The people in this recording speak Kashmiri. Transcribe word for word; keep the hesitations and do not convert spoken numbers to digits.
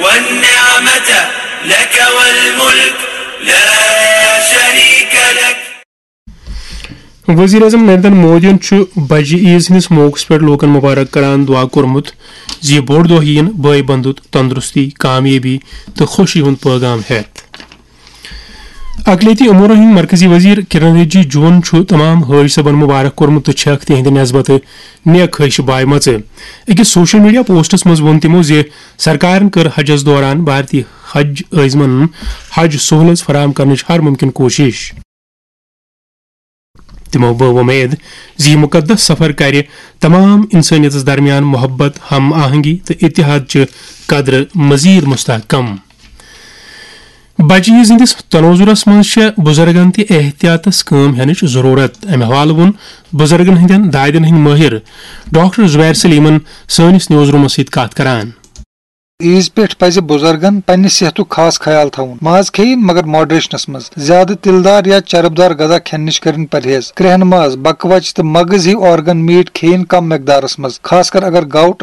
والنعمة لك والملك لا شريك لك. وزیر اعظم نریندر مودیَن چھُ بجہِ عیز ہٕنٛدِس موقعس پٮ۪ٹھ لوٗکَن مبارک کران دعا کوٚرمُت زِ یہِ بوٚڑ دۄہ یِیِن بٲے بنٛدُت تندرستی، کامیٲبی تہٕ خوشی ہُنٛد پٲغام ہٮ۪تھ۔ اقلیتی امورن ہٕنٛدۍ مرکزی وزیر کرن رجیجون چھُ تمام حٲج صٲبن مبارک کوٚرمُت تہٕ چھکھ تِہنٛدِ نسبتہٕ نیک خواہش بایمژٕ۔ أکِس سوشل میڈیا پوسٹس منٛز ووٚن تِمو زِ سرکارن کٔر حجس دوران بھارتی حج عٲزمن حج سہولژ فراہم کرنٕچ ہر ممکن کوٗشش۔ تِمو بٲو وۄمید زِ یہِ مُقدس سفر کرِ تمام انسٲنیتس درمیان محبت، ہم آہنگی تہٕ اتحاد چہِ قدرٕ مزید مستحکم۔ بچہِ عیز ہٕنٛدِس تناظرس منٛز چھےٚ بُزرگن تہِ احتیاطس کٲم ہٮ۪نٕچ ضروٗرت۔ امہِ حوالہٕ ووٚن بُزرگن ہٕنٛدٮ۪ن دادٮ۪ن ہٕنٛدۍ مٲہِر ڈاکٹر زبیر سلیمن سٲنِس نیوز رومس سۭتۍ کتھ کران۔ عیز پٮ۪ٹھ پزِ بُزرگن پننہِ صحتُک خاص خیال تھاوُن۔ ماز کھیٚیِن، مگر ماڈریشنس منٛز۔ زیادٕ تِلہٕ دار یا چرب دار غذا کھٮ۪نہٕ نِش کٔرِن پرہیز۔ کرٛیٚہن ماز، بکوچہِ تہٕ مغز ہِوۍ آرگن میٖٹ کھیٚیِن کم مقدارس منٛز، خاص کر اگر گاؤٹ